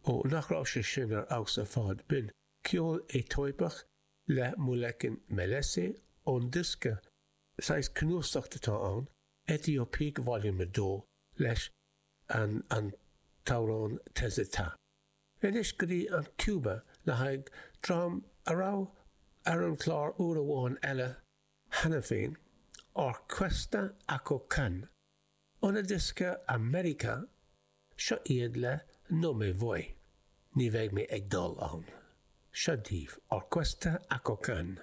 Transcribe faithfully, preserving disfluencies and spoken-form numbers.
Ó, nach raibh sé sin ar fheabhas ar fad? B'in ceol Aetóipeach le Muleken Melese ón diosca, saghas cnuasach atá ann, Ethiopiques Volume a dó, leis an an t-amhrán Tezeta. Anois go dtí an Cuba le haghaidh dream a raibh ar an chlár uair amháin eile cheana féin, Orquesta Akokan. Óna diosca America, seo iad le No Me Voy, ní bheidh mé ag dul ann. Seo daoibh, Orquesta Akokan.